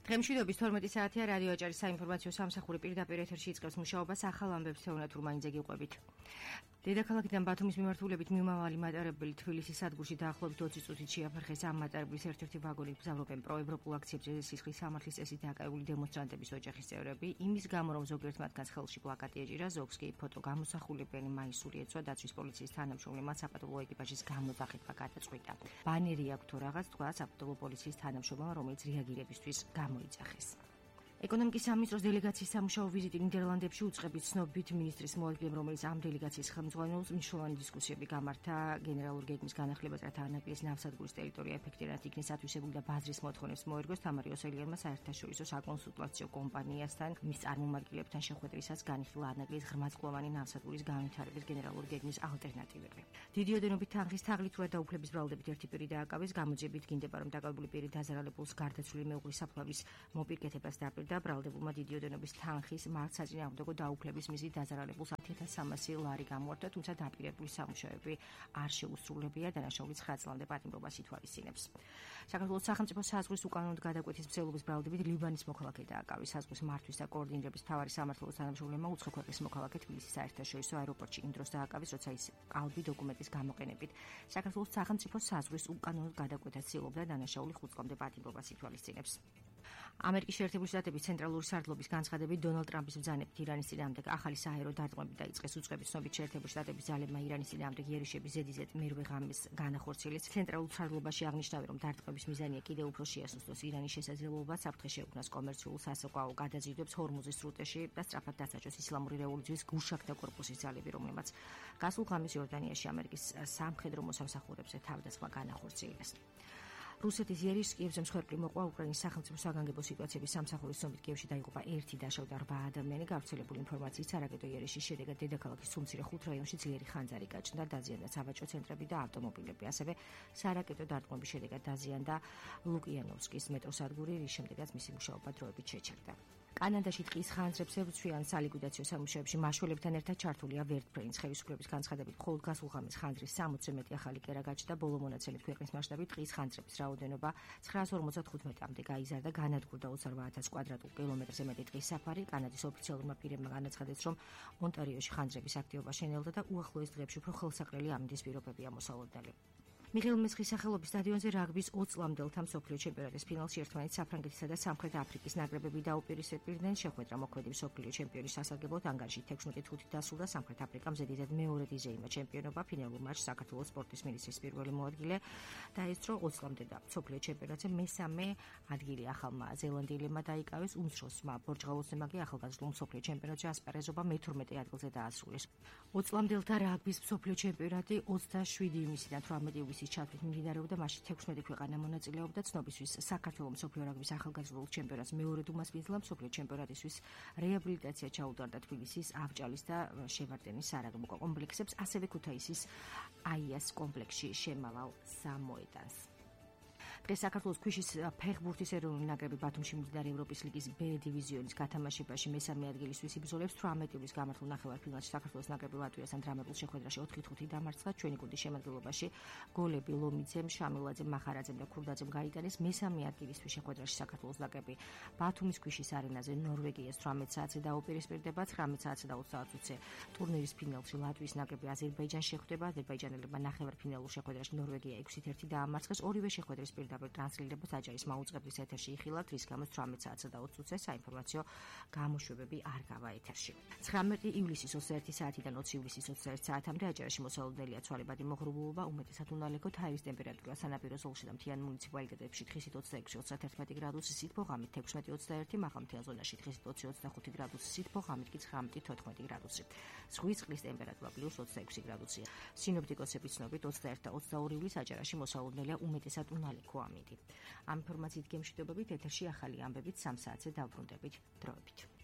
დღემშვიდობის 12 საათია რადიო აჭარის საინფორმაციო სამსახური პირდაპირ ეთერში იწყებს მუშაობას ახალ ამბებს თეონათურ მაინძე გიყვებით. დედაქალაქიდან ბათუმის მიმართულებით მიმავალი მატარებელი თბილისის სადგურში დაახლოებით 20 წუთით შეაფერხეს. ამ მატარებლის ერთ-ერთი ვაგონით გზავრობენ პროევროპულ აქციებზე სისხლის სამართლის წესით დაკავებული დემონსტრანტების ოჯახის წევრები. იმის გამო, რომ ზოგიერთ მათგანს ხელში პლაკატი ეჭირა, ზოგს კი ფოტო გამოსახულებიანი მაისური ეცვა დაცვის პოლიციის თანამშრომლებმა საპატრულო ეკიპაჟის გამოძახება გადაწყვიტა. ბანერი აქვს თუ რაღაც თქვა საპატრულო პოლიციის თანამშრომლებმა, რომელიც რეაგირებისთვის გამოიძახეს. ეკონომიკის სამინისტროს დელეგაციის სამუშაო ვიზიტი ნიდერლანდებში უწყებით ცნობით მინისტრის მოადგილემ, რომელიც ამ დელეგაციის ხელმძღვანელს მნიშვნელოვანი დისკუსიები გამართა გენერალური გეგმის განახილებას, რათა ანაკლიის ნავსადგურის ტერიტორია ეფექტურად იქნეს ათვისებული და ბაზრის მოთხოვნებს მოერგოს. თამარი ოსელიანმა საერთაშორისო საკონსულტაციო კომპანიასთან მის წარმომადგენლებთან შეხვედრისას განიხილა ანაკლის ღრმაწლოვანი ნავსადგურის განვითარების გენერალური გეგმის ალტერნატივები. დიდი ოდენობით თანხის თაღლით და დაუფლების ბრალდებით ერთი პირი დააკავეს. გამოძიებით გინდება, რომ დაკავებული პირი დაზარალებულს გარდაცვლილი მეუღლის საფლავის მოპირკეთებას დაპირდა. ბრალდებულმა დიდი ოდენობის თანხის მართ საწინააღმდეგო დაუფლების მიზნით დაზარალებულს 10,300 ლარი გამოართვა, თუმცა დაპირებული სამუშაოები არ შეუსრულებია, დანაშაულის 9 წლამდე პატიმრობას ითვალისწინებს. საქართველოს სახელმწიფო საზღვრის უკანონოდ გადაკვეთის მცდელობის ბრალდებით ლიბანის მოქალაქე დააკავეს. საზღვრის მართვის და კოორდინირების მთავარი სამმართველოს თანამშრომლებმა უცხო ქვეყნის მოქალაქე თბილისის საერთაშორისო აეროპორტში იმ დროს დააკავეს, როცა ის ყალბი დოკუმენტის გამოყენებით საქართველოს სახელმწიფო საზღვრის უკანონოდ გადაკვეთას ცდილობდა, დანაშაული 5 წლამდე პატიმრობას ითვალისწინებს. ამერიკის შეერთებული შტატების ცენტრალური სარდლობის განცხადებით დონალდ ტრამპის ბრძანებით ირანის წინააღმდეგ ახალი საჰაერო დარტყმები დაიწყეს. უწყების ცნობით შეერთებული შტატების ძალებმა ირანის წინააღმდეგ იერიშების ზედიზედ მერვე ღამეს განახორციელეს. ცენტრალურ სარდლობაში აღნიშნავენ, რომ დარტყმების მიზანია კიდევ უფრო შეასუსტოს ირანის შესაძლებლობა საფრთხე შეუქმნას კომერციულ სასაყვაო გადაზიდვებს ჰორმუზის სრუტეში და სწრაფად დასაჯოს ისლამური რევოლუციის გულშაქთა კორპუსის ძალები, რომლებმაც გასულ ღამეს იორდანიაში ამერიკის სამხედრო მოსამსახურებზე თავდასხმა განახორციელეს. რუსეთის იერიშს კიევზე მსხვერპლი მოყვა. უკრაინის სახელმწიფო საგანგებო სიტუაციების სამსახურის ცნობით კიევში დაიღუპა 1 დაშავდა 8 ადამიანი. გავრცელებული ინფორმაციით სარაკეტო იერიშის შედეგად დედაქალაქის სუმცირე 5 რაიონში ძლიერი ხანძარი გაჩნდა, დაზიანდა სავაჭრო ცენტრები და ავტომობილები. ასევე სარაკეტო დარტყმების შედეგად დაზიანდა ლუკიანოვსკის მეტროსადგური, რის შემდეგაც მისი მუშაობა დროებით შეჩერდა. კანადაში ტყის ხანძრებს ებრძვიან სალიკვიდაციო სამუშაოებში მაშველებთან ერთად ჩართულია ვერტფრენის ხელისუფლების განცხადებით. მხოლოდ გასულ ღამეს ხანძრის 60-ზე მეტი ახალი კერა გაჩნდა. ბოლო მონაცემით ქვეყნის მასშტაბით ტყის ხანძრების რაოდენობა 955-მდე გაიზარდა, განადგურდა 28,000 კვადრატულ კილომეტრზე მეტი ტყის საფარი. კანადის ოფიციალურმა პირებმა განაცხადეს, რომ ონტარიოში ხანძრების აქტივობა შენელდა და უახლოეს დღეებში უფრო ხელსაყრელი ამინდის პირობებია მოსალოდნელი. მიხეილ მესხის სახელობის სტადიონზე რაგბის 20 წლამდელთა მსოფლიო ჩემპიონატის ფინალში ერთმანეთს საფრანგეთისა და სამხრეთ აფრიკის ნაკრებები დაუპირისპირდნენ. შეხვედრა მოქმედი მსოფლიო ჩემპიონის სასარგებლოდ ანგარიში 16-5 დასრულდა. სამხრეთ აფრიკამ ზედიზედ მეორედ იზეიმა ჩემპიონობა. ფინალურ მატჩში საქართველოს სპორტის მინისტრის პირველი მოადგილე დაესწრო 20 წლამდე და მსოფლიო ჩემპიონატზე მესამე ადგილი ახალმა ზელანდიელებმა დაიკავეს. უმცროსმა პორტუგალიელმა კი ახალგაზრდულ მსოფლიო ჩემპიონატში ასპარეზობა მე-12 ადგილზე დაასრულეს. 20 წლამდელთა რაგბის მსოფლიო ჩემპიონატი 27 ივნისიდან 18 ივლისის ჩათვლით მიმდინარეობდა. მასში 16 ქვეყანა მონაწილეობდა. ცნობისთვის საქართველოს მსოფლიო რაგბის ახალგაზრდულ ჩემპიონატს მეორედ უმასპინძლა. მსოფლიო ჩემპიონატისთვის რეაბილიტაცია ჩაუტარდა თბილისის, ავჭალის და შევარდენის სარაგბო კომპლექსებს, ასევე ქუთაისის აიას კომპლექსში შემავალ სამოედანს. დღეს საქართველოს ქვიშის ფეხბურთის ეროვნული ნაკრები ბათუმში მიმდინარე ევროპის ლიგის B დივიზიონის გათამაშებაში მესამე ადგილისთვის იბრძოლებს. 18 ივლისს გამართულ ნახევარფინალში საქართველოს ნაკრები ლატვიასთან დრამატულ შეხვედრაში 4-5 დამარცხდა. ჩვენი გუნდის შემადგენლობაში გოლები ლომიძემ, შამილაძემ, მახარაძემ და ქურდაძემ გაიტანეს. მესამე ადგილისთვის შეხვედრაში საქართველოს ნაკრები ბათუმის ქვიშის არენაზე ნორვეგიას 18 საათზე დაუპირისპირდება. 19 საათსა და 20 საათზე ტურნირის ფინალში ლატვიის ნაკრები აზერბაიჯანს შეხვდება. აზერბაიჯანელებმა ნახევარფინალურ შეხვედრაში ნორვეგია 6-1 დაამარცხეს. ორივე შეხვედრის პირდაპირ ტრანსლირებას აჭარის მაუწყებლის ეთერში იხილავთ, რის გამოც 18 საათსა და 20 წუთზე საინფორმაციო გამოშვებები არ გავა ეთერში. 19 ივლისის 21 საათიდან 20 ივლისის 21 საათამდე აჭარაში მოსალოდნელია ცვალებადი მოღრუბლობა, უმეტესად უნალექო, ჰაერის ტემპერატურა სანაპირო ზოლში და მთიან მუნიციპალიტეტებში 26-26-31 გრადუსი, სითბო ღამით 16-21, მაღალმთიან ზონაში 20-25 გრადუსი, სითბო ღამით კი 19-14 გრადუსი. ზღვის წყლის ტემპერატურა +26 გრადუსია. სინოპტიკოსების ცნობით 21 და 22 ივლისს აჭარაში მოსალოდნელია უმეტესად უნალექო ამინდი. ამ ინფორმაციით გემშვიდობებით ეთერში ახალი ამბებით 3 საათზე დავბრუნდებით დროებით.